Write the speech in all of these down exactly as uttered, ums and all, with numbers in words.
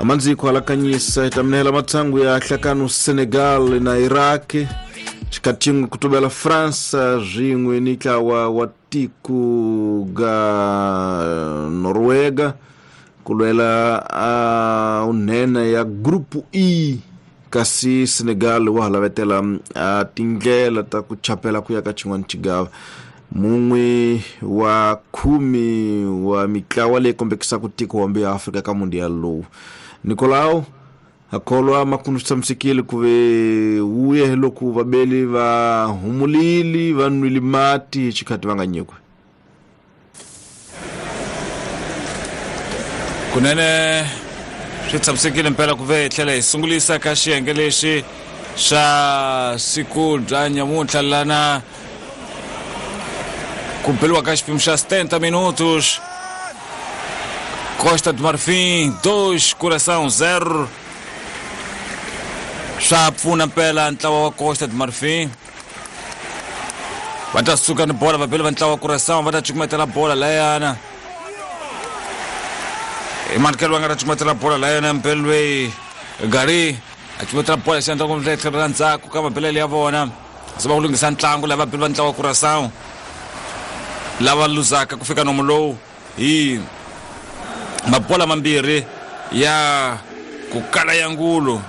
Amanziko alakanyisa itaminela matsangu ya hlakano Senegal na Iraq chikatingu kutubela Fransa zwingwe nitlawa wa tiku ga Noruega kulwela uh, unena ya grupu E kasi Senegal wahalavetela uh, tindlela ta ku chapela kuya ka xin'wana xigava mun'we wa khume wa mitlawa leyi kombekisaka tiko wambe ya Afrika ka mundial lowu Nicolau akholwa makundu tshamisekile ku ve wuye loko vabeli va humulili va nwile mati hi xikhati va nga nyikiwi kunene swi tshamisekile mpela ku ve hi tlhela hi sungulisa ka xiyenge lexi xa siku bya nyamuntlha lana ku beliwa ka xiphemu xa setenta minutos Costa do Marfim dois Curaçao zero swa pfuna mpela ntlawa wa Costa do Marfim va ta suka ni bola vabeli va ntlawa wa Curaçao va ta cukumetela bola layana Emanuel wa nga ta cukumetela bola layana mpela loyi Gari a cukumetela bola xi endla ku tlhelo ra ndzhaku ka mabelele ya vona se va ku lunghisa ntlangu lava vabeli va ntlawa wa Curaçao lava luzaka ku fika nomu lowu hi mabola mambirhi ya ku kala ya ngulu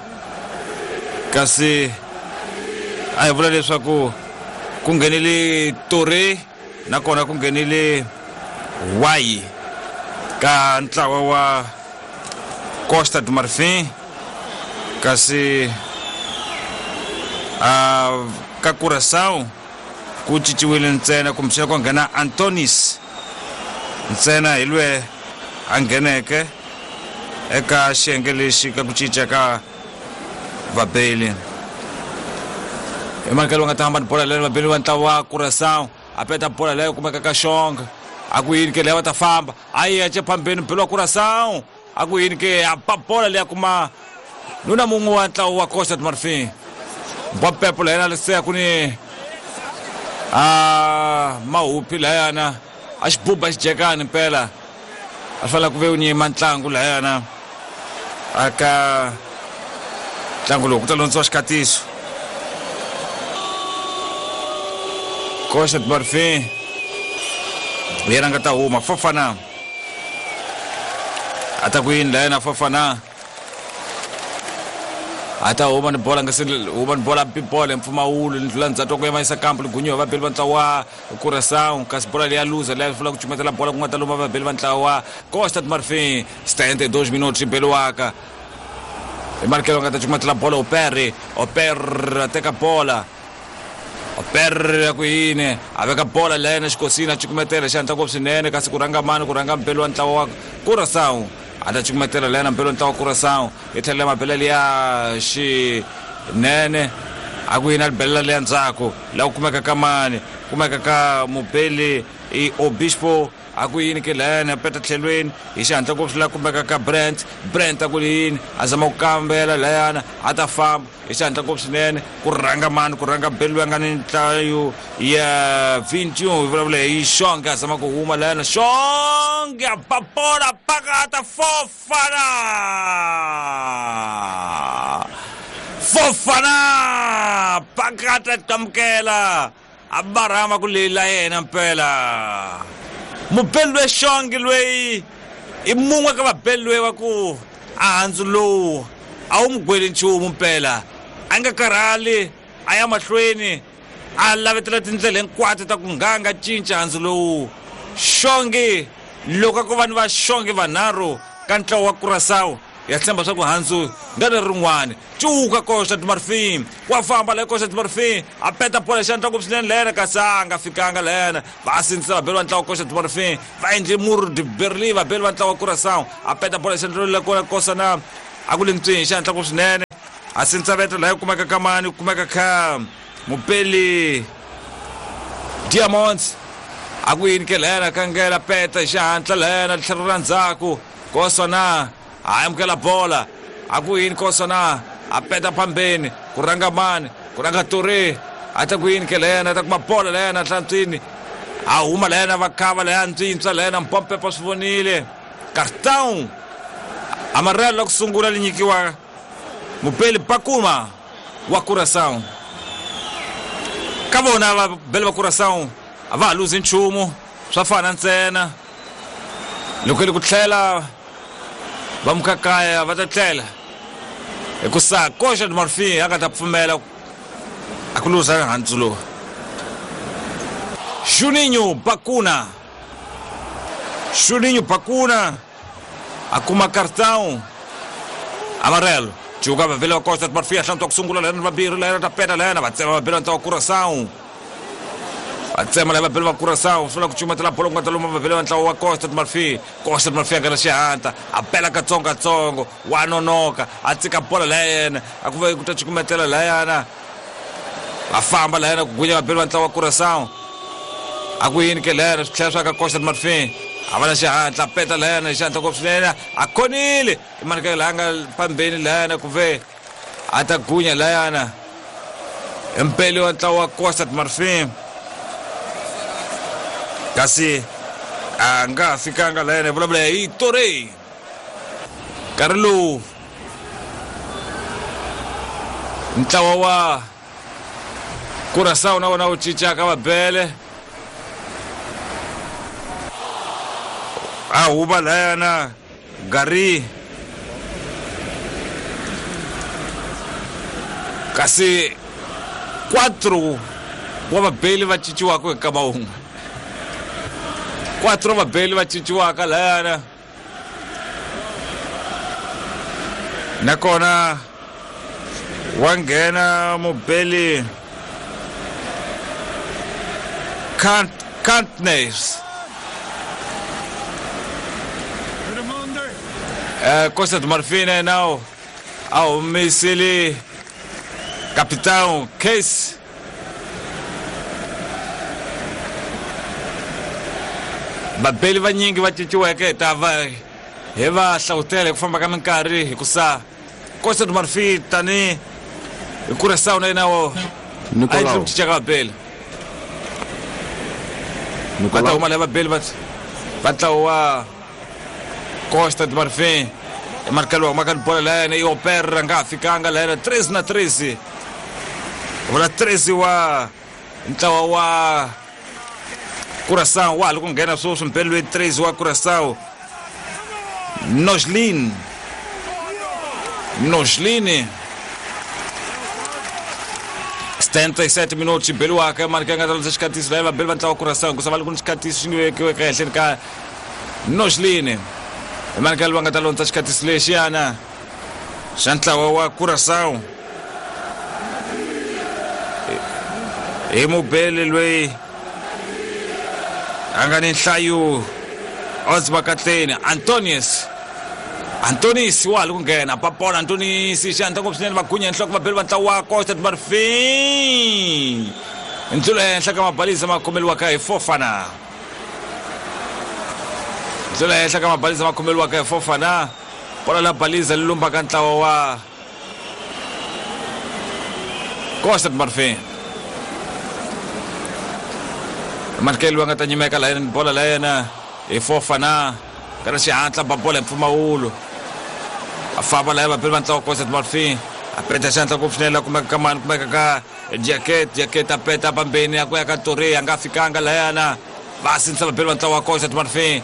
kasi a hi vula leswaku ku nghenile Toure nakona ku nghenile Wayi ka ntlawa wa Costa do Marfim kasi a ka Curaçao ku cinciwile ntsena kumbexana ku nghena Antonis ntsena hi lwe a ngheneke eka xiyenge lexi ka ku cinca ka vabeli Emanuel nga ta hamba ni bola leyo vabeli va ntlawa wa Curaçao a peta bola leyo kumeka ka Xonga a ku yini ke leyo va ta famba a yi ya phambeni mbeli wa Curaçao a ku yini ke a ba bola leya kuma nuna mun'we wa ntlawa wa Costa do Marfim Mbapepo layena leseya ku ni a mahupi layana a xibuba xijekani mpela a fanele ku ve u nyima ntlangu layana aka ntlangu lowu ku ta londziwa xikhatiso Costa do Marfim yena nga ta huma Fofana a ta ku yini layana Fofana a ta huma ni bola nga se huma ni bola bibola mpfumawulo ni ndlula ndzhaku ku yima yisa kampu ligunyiwa vabeli va ntlawa wa Curaçao kasi bola leya luza leya fula ku cukumetela bola ku nga ta luma vabeli va ntlawa wa Costa do Marfim setenta e dois minutos beliwaka Emanuel nga ta cukumetela bola Opere Opere a teka bola Opere ku yini a veka bola layena xikosini a cukumetela xihatla ngopfu swinene kasi ku rhanga mani ku rhanga mbeli wa ntlawa wa Curaçao a ta cukumetela layena mbeli wa ntlawa wa Curaçao yi tlhelela mabelele ya xinene a ku yini a libelela leya ndzhaku laha ku kumeka ka mani kumeka ka mubeli i Obispo a ku yini ke layena peta tlhelweni hi xihatla ngopfu laha kumeka ka Brent Brent a ku yini a zama ku kambela layana a ta famba hi xihatla ngopfu swinene ku rhanga mani ku rhanga beli loyi a nga ni nhlayo ya vinte e um hi vulavula hi Xonge a zama ku huma layana Xonge a ba bola pakata Fofana Fofana pakata qamukela a barhama ku lela yena mpela mubeli loyi Xonge loyi i mun'we ka vabeli loyi wa ku a handzu lowu a wu n'wi gweli nchumu mpela a nga karhali a ya mahlweni a lavetela tindlela hinkwato ta ku nganga cinca handzu lowu Xonge loko ku va ni va Xonge vanharhu ka ntlawa wa Curaçao ya tshemba swa ku handzu nga leri rin'wani cuka Costa do Marfim wa famba la Costa do Marfim a peta bola xandla ngopfu swinene lena kasi a nga fikanga lena va sindzisa vabeli va ntlawa wa Costa do Marfim va endle mur de Berlin vabeli va ntlawa wa Curaçao a peta bola xandla le kona kosa na a ku le ntswini xihatla ngopfu swinene a sindzisa veto laha ku kumeka ka mani ku kumeka ka mubeli Diamonds a ku yini ke lena kangela peta xihatla lena tlhelo ra ndzhaku kosa na a amukela bola a ku yini kosa na a peta phambeni ku rhanga mani ku rhanga Toure a ta ku yini ke lena a ta kuma bola lena hlantswini a huma lena va khava leya ntswintswa lena mpompepo swi vonile cartão Amarelo la ku sungula li nyikiwa mupeli Bakuma wa Curaçao. Ka vona vabeli va Curaçao a va ha luzi nchumu, swa fana ntsena. Loko li ku tlhela va mukakaya va ta tlhela hikusa Costa do Marfim a nga ta pfumela a ku luza handzu lowu. Juninho Bacuna, Juninho Bacuna a kuma cartão amarelo. Jogava vela Costa do Marfim, achando que sungula lena vambirhi lena ta peta lena va tsema vabeli va Curaçao. Va tsema leva vabeli va Curaçao, swi ku cumatela bolo ku nga ta luma vabeli va ntlawa wa Costa do Marfim. Costa do Marfim a nga na xihatla, a bela katsongokatsongo, wa nonoka, a tsika bola layena, a ku va ku ta cukumetela layana. Va famba layena ku gunya vabeli va ntlawa wa Curaçao. A ku yini ke lena swi tlhela swa ka Costa do Marfim. A va na xihatla, peta lena xihatla ngopfu swinene, a khonile i maneke laha nga phambeni layana ku ve a ta gunya layana. Mpeli wa ntlawa wa Costa do Marfim kasi a nga ha fikanga layana, hi vulavula hi Torre. Nkarhi lowu ntlawa wa Curaçao na wona wu cincaka vabele. A huva layana Gary kasi quatro wa vabeli va cinciwaka hi nkama wun'we. Quatro vabeli va cinciwaka layana, nakona wa nghena mubeli Kant Kantnes. Uh, Costa do Marfim now ao humisile capitão Case. Vabeli vanyingi va cinciweke ta va hi va hlawutela hi ku famba ka minkarhi hikusa Costa do Marfim tani hi Curaçao na yena wo a yi ku cinca ka vabeli. Va ta huma lava vabeli va va ntlawa wa Costa do Marfim. Marcelo wa maka bola layana i opera nga fikanga layana treze na treze. Vula treze wa ntlawa wa Curaçao wa loko nghena sweswi mpeli loyi treze wa Curaçao Noslin. Noslin setenta e sete minutos beliwaka marka nga ta xikatiso laya vabeli va ntlawa wa Curaçao ku sava loko ni xikatiso xi vekiweke ehenhleni ka Noslin. Emanuel va nga ta londza xikatiso lexiyana xa ntlawa wa Curaçao hi mubeli loyi a nga ni nhlayo Osbakatleni Antonius. Antonis wa li ku nghena papola Antonis xihatla ngopfu swinene va gunya nhloko vabeli va ntlawa wa Costa do Marfim. Ndlula ehenhla ka mabalisa ma khomeliwaka hi Fofana. Ndlela henhla ka mabalisa ma khomeliwaka hi Fofana. Bola la balisa li lumbaka ntlawa wa Costa do Marfim. Markel wa nga ta nyimeka la yena bola la yena hi Fofana. Kana xihatla ba bola hi mpfumawulo. A famba la vabeli va ntlawa wa Costa do Marfim. A peta xihatla ngopfu swinene la kumeka ka mani kumeka ka Jacket, Jacket a peta pambeni a ku ya ka Torre a nga fikanga layana. Va sinisa vabeli va ntlawa wa Costa do Marfim.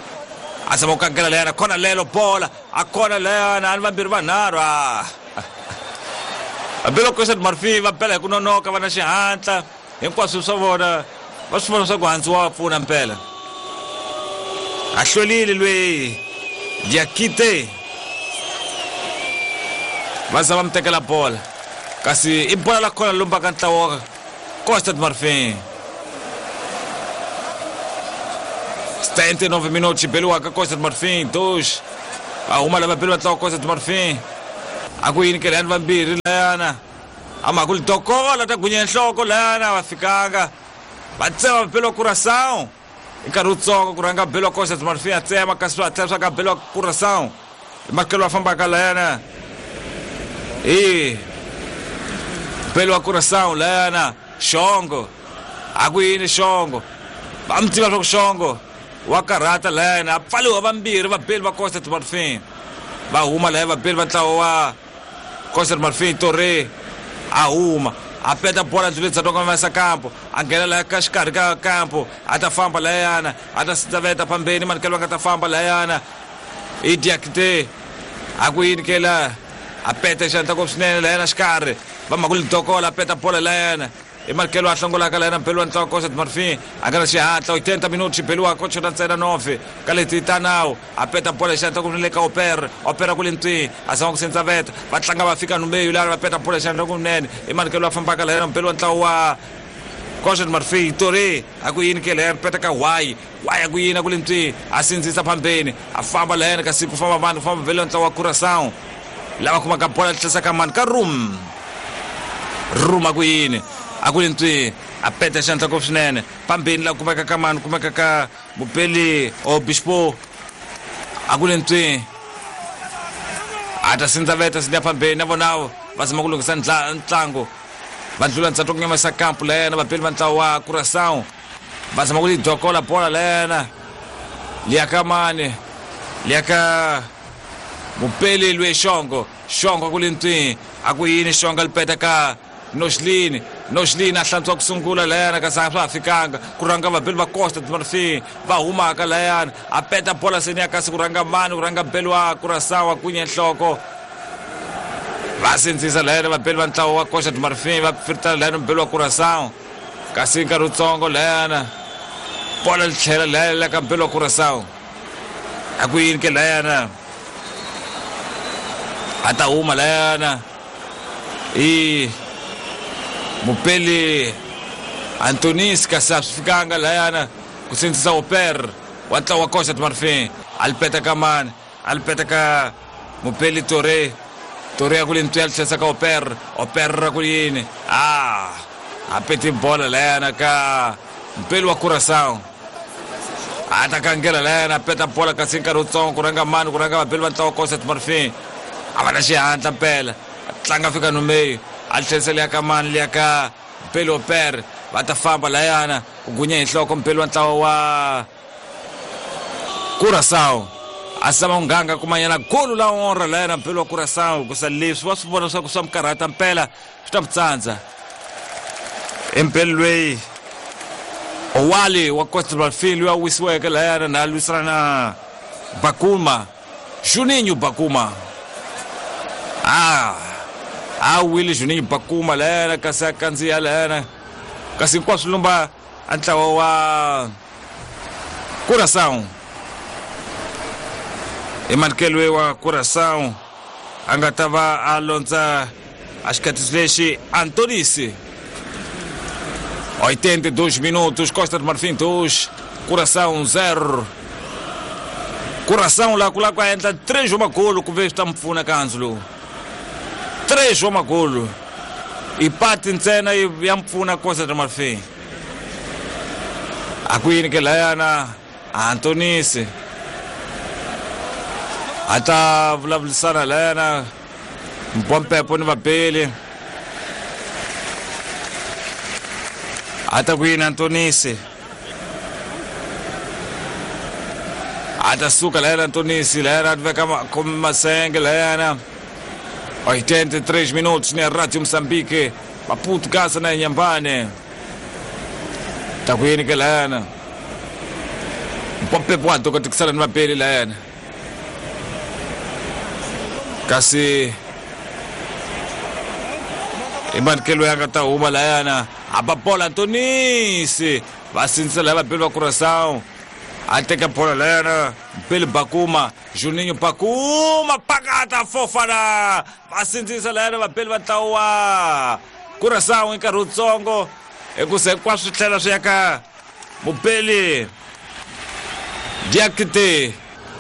A zama ku kangela layana khona lelo bola a khona layana a ni vambirhi vanharhu a vabeli va Costa do Marfim va bela hi ku nonoka va na xihatla hinkwaswo swa vona va swi vona swa ku handzu wa pfuna mpela. A hlwerile loyi Diakite va za va mi tekela bola kasi i bola la khona lumbaka ntlawa wa Costa do Marfim. setenta e nove minutos beliwaka Costa do Marfim dois. Va huma lava beli va ntlawa Costa do Marfim. A ku yini ke layani vambirhi layana a mhaka ku li dokola ta gunya nhloko layana va fikanga va tsema vabeli wa Curaçao hi nkarhi wutsongo ku rhanga beli wa Costa do Marfim a tsema kasi swa tlhela swa ka beli wa Curaçao hi makelo va fambaka layana hi beli wa Curaçao layana Xongo. A ku yini Xongo va mi tiva swa ku Xongo wa karhata layana a pfaliwa vambirhi vabeli va Costa do Marfim. Va huma laha vabeli va ntlawa wa Costa do Marfim Torre a huma a peta bola ndluleni dza tonga kampo a nghena laha ka xikarhi ka kampo a ta famba layana a ta sitsaveta phambeni manikelo va nga ta famba layana i Diakite a ku yini ke la a peta xandla ko swinene layana xikarhi va mhaka lidokola a peta bola layana i manikelo a hlongolaka layana mpelo wa ntlawa Costa do Marfim a nga na xihatla oitenta minutos xibeliwa ko chota ntsena nove ka leti ta nawu a peta bola xandla ku le ka Opera Opera ku le ntwini a zama ku sentsaveta va tlanga va fika no meio laha va peta bola xandla kunene i manikelo a fambaka layana mpelo wa ntlawa wa Costa do Marfim Torre a ku yini ke layana peta ka Y Y a ku yini a ku le ntwini a sindzisa phambeni a famba layana kasi ku famba vanhu ku famba vele ntlawa wa Curaçao lava kumaka bola tlhesa ka mani ka Rum Rum a ku yini a ku le ntwini a peta xandla ko swinene phambeni la kumeka ka mani kumeka ka Mupeli Obispo a ku le ntwini a ta sindzaveta sindza phambeni na vona va zama ku lunghisa ntlangu va ndlula ntsatwa ku nyamisa kampo layena vabeli va ntlawa wa Curaçao va zama ku lidokola bola layena liya ka mani liya ka Mupeli lwe Xongo Xongo ku le ntwini a ku yini Xongo li peta ka Noslin Noslin a hlantswa ku sungula layana kasi a swa ha fikanga ku rhanga vabeli va Costa do Marfim va humaka layana a peta bola seni ya kasi ku rhanga mani ku rhanga beli wa Curaçao a kunye nhloko va sindzisa layana vabeli va ntlawa wa Costa do Marfim va firtana layana mubeli wa Curaçao kasi nkarhi wutsongo layana bola li tlhela layana ka mbeli wa Curaçao a ku yini ke layana a ta huma layana i Mupeli Antonis kasi a swi fikanga layana ku sindzisa Oper wa ntlawa wa Costa do Marfim a li peta ka mani a li peta ka Mupeli Torre Torre a ku le ntwi a li tlhesa ka Oper Oper a ku yini a a peti bola layana ka Mupeli wa Curaçao a ta kangela layana a peta bola kasi nkarhi wutsongo ku rhanga mani ku rhanga vabeli va ntlawa wa Costa do Marfim a va na xihatla mpela a tlanga fika no meio a tlherisa liya ka mani liya ka Mpeli Oper va ta famba layana ku gunya hi nhloko Mpeli wa ntlawa wa Curaçao a zama ku nganga kumanyana golu la onra layana Mpeli wa Curaçao kusa leswi va swi vona leswaku swa mi karhata mpela swi ta mi tsandza Mpeli lweyi Owali wa Costa do Marfim loyi a wisiweke layana na lwisana na Bakuma Juninho Bakuma ah a wile Juninho Bakuma layana kasi a kandziya layana kasi hinkwaswo lumba a ntlawa wa Curaçao i manikelo wa Curaçao a nga ta va a londza a xikatiso lexi Antonisi oitenta e dois minutos Costa do Marfim dois Curaçao zero Curaçao la ku la ku endla três wa magolo ku ve swi ta mi pfuna ka handzu lowu três wa magolo i pati ntsena ya mpfuna Costa do Marfim a ku yini ke layana Antonisi a ta vulavurisana layana Mpompepo ni vabeli a ta ku yini Antonisi a ta suka layana Antonisi layana a veka masenge layana oitenta e três minutos na Rádio Moçambique Maputo Gaza na Inhambane ta ku yini ke layana Mpompepo wa dokotikisana ni vabeli layana kasi i manikelo ya nga ta huma layana a ba bola Antonisi va sindzisa laya vabeli va Curaçao a teka bola layana Mpeli Bakuma Juninho Bakuma pakata fofana va sindzisa layana vabeli va ntlawa wa Curaçao hi nkarhi wutsongo hikusa hinkwaswo swi tlhela swi ya ka Mupeli Diakite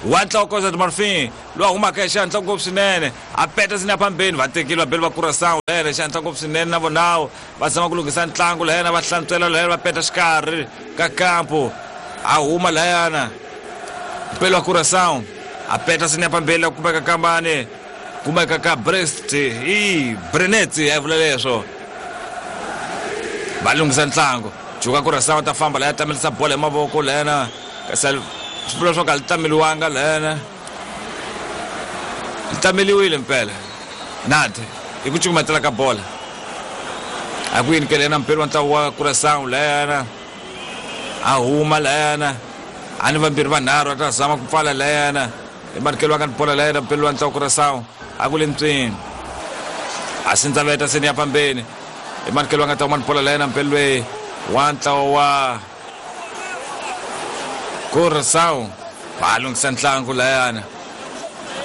wa ntlawa Costa do Marfim loyi a humaka hi xihatla ngopfu swinene a peta sina phambeni va tekile vabeli va Curaçao layena hi xihatla ngopfu swinene na vonawo va zama ku lunghisa ntlangu layena va hlantswela layena va peta xikarhi ka kampo a huma layana Mpeli wa Curaçao a peta sina phambeni la kumeka ka mani kumeka ka Brest i Brenet a vula leswo va lunghisa ntlangu juka Curaçao ta famba laya tamelisa bola hi mavoko layena kasi swi vula swo ka li tameliwanga layena Tameliwile mpela nade hi ku cukumetela ka bola a ku yini ke lena mpeli wa ntlawa wa Curaçao layana a huma layana a ni vambirhi vanharhu a ta zama ku pfala layana i manikelo wa ka ni bola layana mpeli wa ntlawa wa Curaçao a ku le ntswini a sindzaveta seni ya pambeni i manikelo wa nga ta huma ni bola layana mpeli loyi wa ntlawa wa Curaçao va lunghisa ntlangu layana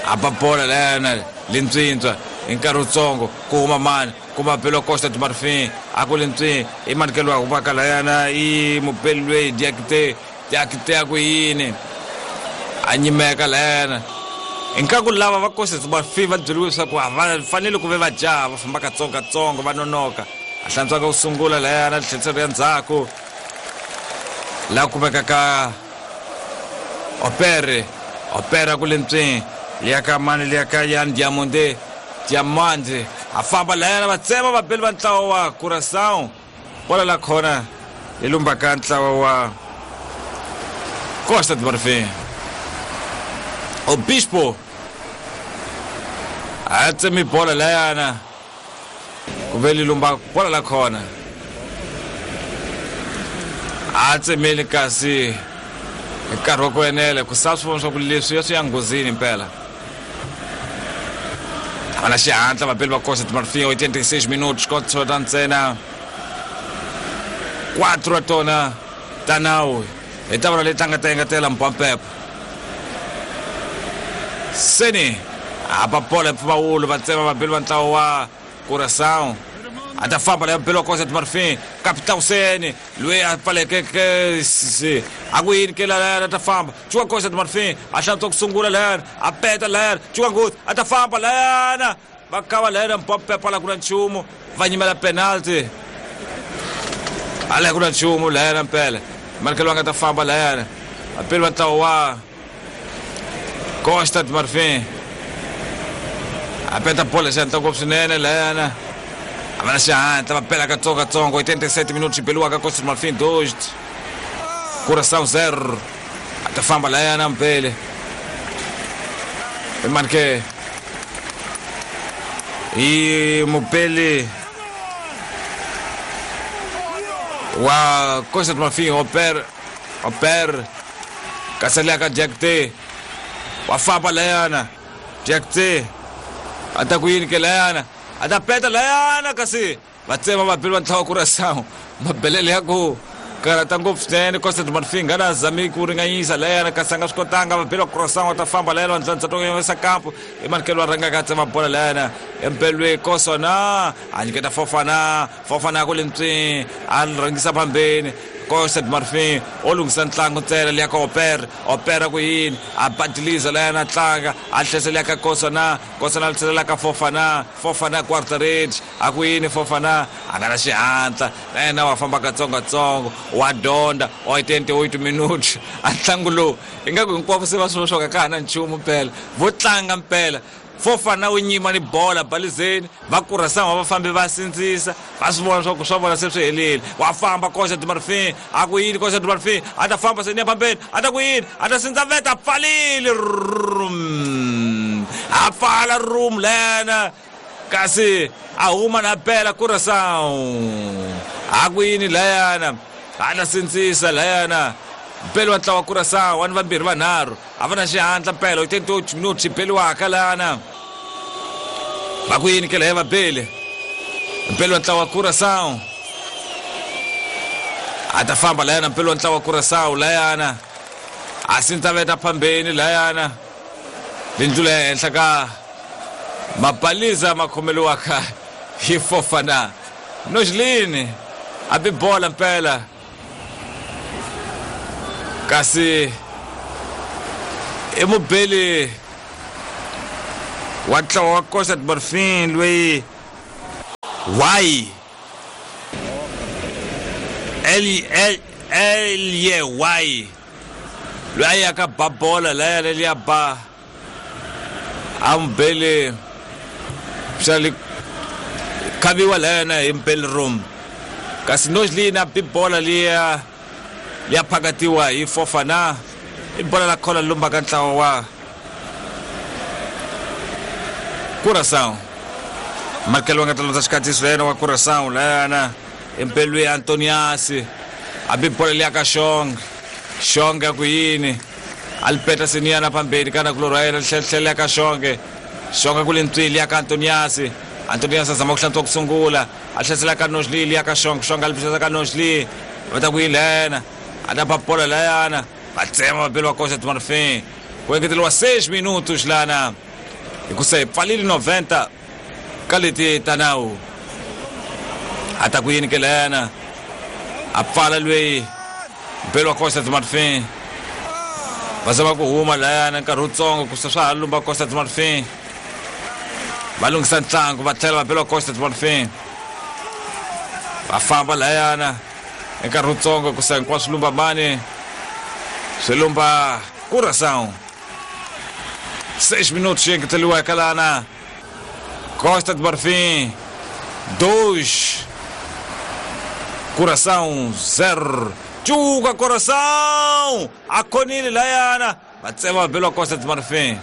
a ba bola layana lintswintswa hi nkarhi wutsongo ku huma mani kuma belo Costa do Marfim a ku lintswini i manikelo wa humaka layana i mubeli loyi Diakite Diakite a ku yini a nyimeka layana inkaku lava va Costa do Marfim va byeriwe leswaku a va fanele ku ve va jaha va famba katsongokatsongo va nonoka a hlantswaka ku sungula layana tlheriselo ya ndzhaku laha kumeka ka Opere Opera ku lentswini liya ka mani liya ka Yan Diamonde Diamande a famba layana va tsema vabeli va ntlawa wa Curaçao bola la khona yi lumba ka ntlawa wa Costa do Marfim Obispo a tsemi bola layana ku ve li lumba bola la khona a tsemeli kasi hi nkarhi wa ku enela ku sa swi vona swa ku leswi ya swi ya nghozini mpela va na xihatla vabeli va Costa do Marfim oitenta e seis minutos kota ntsena quatro a tona ta nawu hi ta vona leti a nga ta engetela mpampepo seni a ba bola hi mpfumawulo va tsema vabeli va ntlawa wa Curaçao a ta famba leya mubeli wa Costa do Marfim Capitão Sene loyi a pfaleke a ku yini ke layana a ta famba cuka Costa do Marfim a hlantswa ku sungula layana a peta layana cuka nghozi a ta famba layana va kava layana mpampepa la ku na nchumu va nyimela penalty a la ku na nchumu layana mpela manikelo va nga ta famba layana vapeli va ntlawa wa Costa do Marfim a peta bola xihatla ngopfu swinene layana a va na xihatla va pela katsongokatsongo oitenta e sete minutos xibeliwaka Costa do Marfim dois Curaçao zero a ta famba layana mpele i mani ke i mupeli wa Costa do Marfim Oper Oper kasi liya ka Diakite wa famba layana Diakite a ta ku yini ke layana a ta peta layana kasi va tsema vabeli va ntlawa Curaçao mabelele ya ku karhata ngopfu swinene Costa do Marfim nga na zami ku ringanyisa layana kasi a nga swi kotanga vabeli va Curaçao va ta famba layana va ndlandza kampo i manikelo wa rhangaka a tsema bola layana empelwe Kosona a nyiketa Fofana Fofana ku le ntswini a rhangisa phambeni Costa do Marfim o lunghisa ntlangu ntsena liya ka Opera Opera ku yini a badiliza layana tlanga a tlhela liya ka Kosona Kosona a tlhela ka Fofana Fofana quarter-range a ku yini Fofana a nga na xihatla na yena wa famba katsongokatsongo wa dyondza oitenta e oito minutos a ntlangu lowu ingaku hinkwavo se va swi swo ka ka ha na nchumu mpela vo tlanga mpela Fofana wu nyima ni bola balizeni va Curaçao va fambi va sindzisa va swi vona swa ku swa vona se swi helile wa famba Costa do Marfim a ku yini Costa do Marfim a ta famba seni ya phambeni a ta ku yini a ta sindza veta a pfalile rum a pfala room lena kasi a huma na pela Curaçao a ku yini layana a ta sindzisa layana mpeli wa ntlawa wa Curaçao wa ni vambirhi vanharhu a va na xihatla mpela oitenta e oito minutos xibeliwaka lana va ku yini ke laya vabeli mpeli wa ntlawa wa Curaçao a ta famba layana mpeli wa ntlawa wa Curaçao layana a sindzaveta phambeni layana lindlula ya henhla ka mabaliza ma khomeliwaka hi Fofana Nojlini a bi bola mpela kasi i mubeli wa ntlawa wa Costa do Marfim loyi Y L L L Y Y loyi a yaka ba bola laya leliya ba a mubeli xa li khaviwa layana hi mpeli room kasi Nojlini a bi bola liya liya phakatiwa hi Fofana i bola la khola lumbaka ntlawa wa Curaçao. Marcelo nga talonza xikatiso yena wa Curaçao layana empelwe Antoniasi a bi bola liya ka Shong Shong ku yini alipeta siniana pambeni kana kulorwa yena tlhela ka Shong Shong ku lintswili ya ka Antoniasi Antoniasi azama ku hlantswa ku sungula a tlhela ka Nojli liya ka Shong Shong alipeta ka Nojli va ta ku yilena a ta bola layana va tsema vapeli va Costa do Marfim ku engeteriwa seis minutos lana hikusa hi pfalile noventa ka leti ta nawu a ta ku yini ke lena a pfala lweyi mpelo wa Costa do Marfim va zama ku huma layana nkarhi wutsongo ku swa ha lumba Costa do Marfim va lunghisa ntlangu va tlhela vapeli wa Costa do Marfim va famba layana nkarhi wutsongo ku sa hinkwaswo lumba mani swi lumba Curaçao seis minutos engeteriweke lana Costa do Marfim dois Curaçao zero. Cuka Curaçao a khonile layana va tsema vabeli wa Costa do Marfim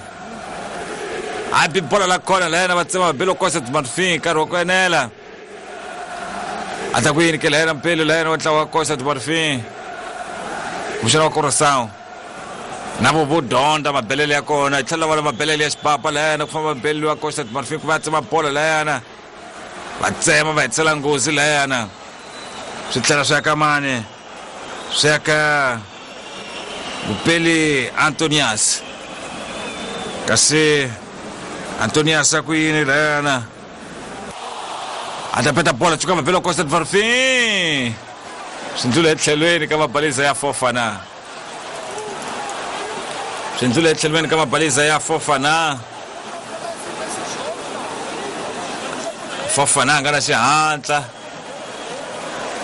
a bi bola la khona layana va tsema vabeli wa Costa do Marfim nkarhi wa ku enela a ta ku yini ke layana mpeli layana wa ntlawa wa Costa do Marfim kuxana wa Curaçao na vo vo dyondza mabelele ya kona tlhela va mabelele ya xipapa layana ku famba mabelele wa Costa do Marfim ku va tsema bola layana va tsema va hetisela nghozi layana swi tlhela swi ya ka mani swi ya ka mupeli Antonias kasi Antonias a ku yini layana a ta peta bola cuka mabele wa Costa do Marfim swi ndlula etlhelweni ka mabaliza ya Fofana swi ndlula etlhelweni ka mabaliza ya Fofana Fofana a nga na xihatla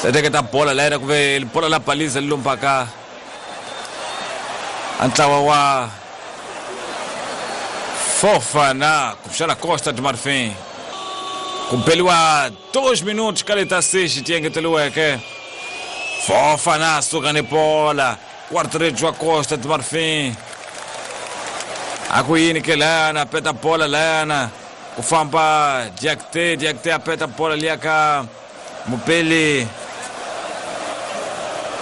teketa bola layena ku ve bola la baliza li lumbaka a ntlawa wa Fofana kuxana Costa do Marfim ku beliwa dois minutos ka leta seis ti engeteriweke Fofana suka ni bola guarda-redes wa Costa do Marfim a ku yini ke layana peta bola layana ku famba Diakite Diakite a peta bola liya ka mupeli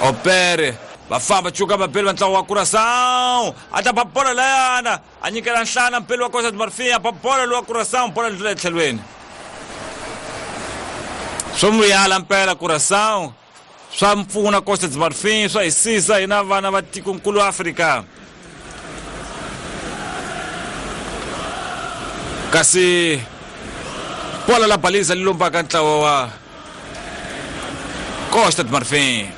Opere va famba cuka vapeli va ntlawa wa Curaçao a ta ba bola layana a nyikela nhlana mpeli wa Costa do Marfim a ba bola lowa Curaçao bola ndlula etlhelweni swo muyala mpela Curaçao swa mpfuna Costa do Marfim swa hisisa hina vana va tikonkulu Afrika kasi bola la baliza li lumbaka ntlawa wa Costa do Marfim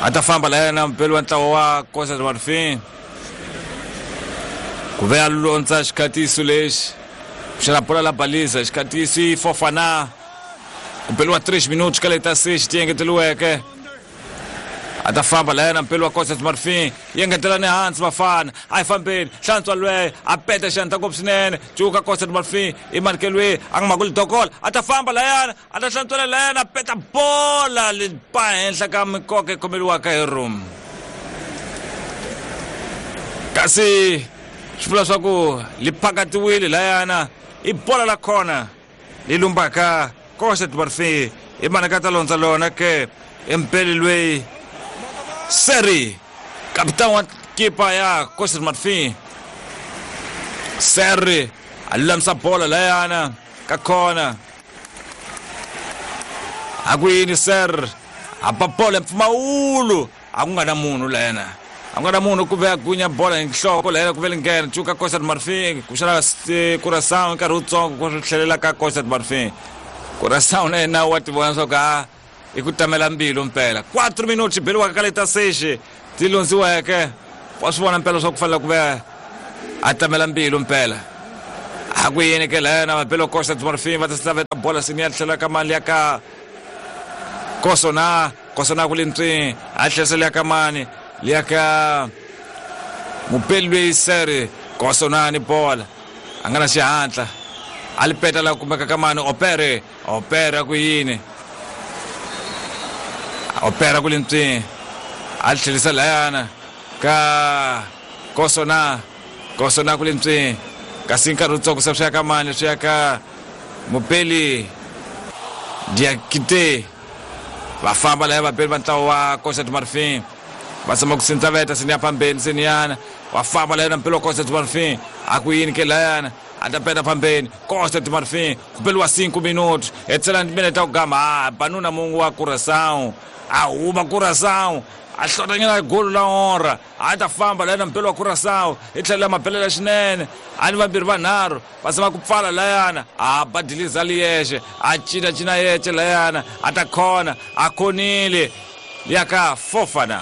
a ta famba layana mpeli wa ntlawa wa Costa do Marfim ku ve a londza xikhatiso lexi xana bola la baliza xikhatiso i Fofana ku beliwa três minutos ka leta seis ti engeteriweke a ta famba layana mpeli wa Costa do Marfim yi engetela ni hansi vafana a yi fambeni hlantswa lweyo a peta xandla ngopfu swinene cuka Costa do Marfim i markelwe a nga makuli dokola a ta famba layana a ta hlantswela layana a peta bola li ba henhla ka mikoka yi khomeriwaka hi room kasi swi vula swa ku li phakatiwile layana i bola la khona li lumbaka Costa do Marfim i manaka ta londza lona ke empeli lweyi Seri capitão wa kipa ya Costa do Marfim Seri a lulamisa bola layana ka khona a ku yini Ser a ba bola mpfumawulo a ku nga na munhu layana a ku nga na munhu ku ve a gunya bola hi nhloko layana ku ve li nghena cuka Costa do Marfim ku xana Curaçao nkarhi wutsongo ku swi tlhelela ka Costa do Marfim Curaçao na yena wa ti vona swa ku a i ku tamela mbilu mpela quatro minutos beliwaka ka leta seis ti londziweke wa swi vona mpela swa ku fanele ku ve a tamela mbilu mpela a ku yini ke layana vapeli wa Costa do Marfim va ta slaveta bola sini ya tlhela ka mali ya ka Kosona Kosona ku lintswini a tlherisela ya ka mani liya ka mupeli lweyi Seri Kosona ni bola a nga na xihatla a li peta la kumeka ka mani Opere Opere a ku yini Opera ku lintswini a tlherisa layana ka Kosona Kosona ku lintswini Kasi nkarhi wutsongo se swi ya ka mani swi ya ka mupeli Diakite va famba laya vabeli va ntlawa wa Costa do Marfim va tshama ku sindzaveta seni ya phambeni seniyana wa famba layana mpelo wa Costa do Marfim a ku yini ke layana a ta peta phambeni Costa do Marfim ku beliwa cinco minutos hetisela minete ta ku gama a banuna mungu wa Curaçao a huma Curaçao a hlotanyana golo la honra a ta famba layana mpelo wa Curaçao i tlhela mabelela swinene a ni vambirhi vanharhu va zama ku pfala layana a badiliza liyexe a cina cina yexe layana a ta khona a khonile ya ka Fofana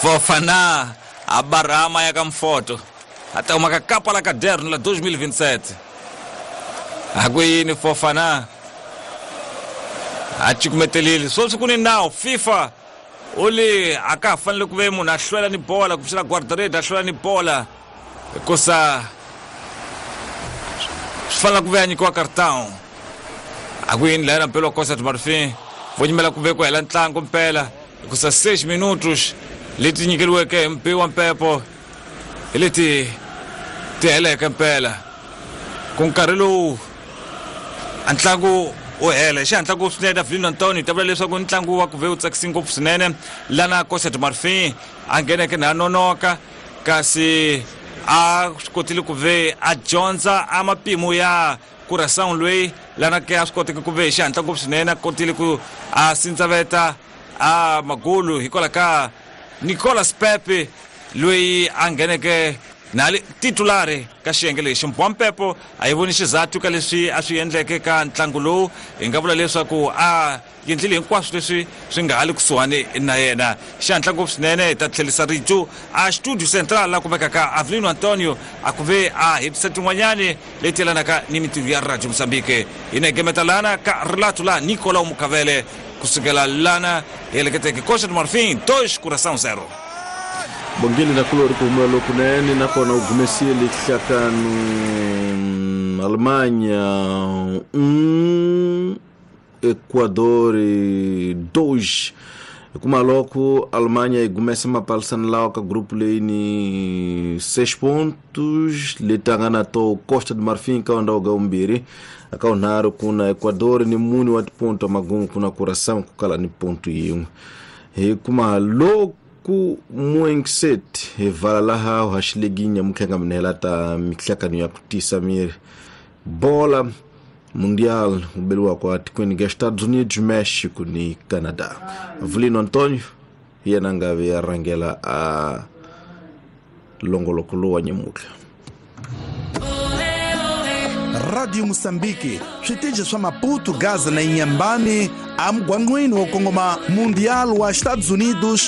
Fofana a barama ya ka mfoto a ta huma ka kapa la caderno la dois mil e vinte e sete a ku yini Fofana a cukumetelile sweswi ku ni nawu FIFA u li a ka ha fanele ku ve munhu a hlwela ni bola ku pfuxela guardarede a hlwela ni bola hikusa swi fanele ku ve a nyikiwa cartão a ku yini layana mpela wa Costa do Marfim vo nyimela ku ve ku hela ntlangu mpela hikusa seis minutos leti nyikeriweke hi mpi wa mpepo hi leti ti heleke mpela ku nkarhi lowu a ntlangu u hela xihatla ku swinene Avelino Antonio ta vula leswaku ntlangu wa ku ve wu tsakisi ngopfu swinene lana Costa do Marfim a ngheneke na nonoka kasi a swi kotile ku ve a dyondza a mapimo ya Curaçao loyi lana ke a swi koteke ku ve hi xihatla ngopfu swinene a kotile ku a sindzaveta a magulu hikwalaho ka Nicolas Pepe loyi a ngheneke na li titulari ka xiyenge lexi Mbwa Mpepo a yi voni xizathu ka leswi a swi endleke ka ntlangu lowu hi nga vula leswaku a endlile hinkwaswo leswi swi nga ha li kusuhani na yena xihatla ngopfu swinene hi ta tlherisa rito a studio central la kumekaka Avelino Antonio a ku ve a hetisa tin'wanyani leti yelanaka ni mintirho ya Radio Mozambique hi na gemeta lana ka relato la Nicolau Mukavele kusukela lana hi heleketeke Costa do Marfim dois Curaçao zero. Bongile na kulori ku humela lokunene nakona u gumesile hlakanu Alemanha um Equador dois kuma loko Alemanha yi gumesa mapalisani lawa ka grupo leyi ni seis pontos leti a nga na to Costa do Marfim ka ndhawu ga vumbirhi aka vunharhu ku na Equador ni mune wa tiponto magumu ku na Curaçao ku kala ni ponto yin'we hi kuma loko ku muengset hi vala laha u haxileginya mukhenga minela ta mihlakano ya ku tisa miri bola mundial u beliwa kwa tikweni ga Estados Unidos, México ni Canadá. Avelino Antonio hi yena nga ve ya rhangela a longoloko lowu wa nyamutlha. Radio Moçambique, switeji swa Maputo, Gaza na Inhambane, amugwangwini wo kongoma Mundial wa Estados Unidos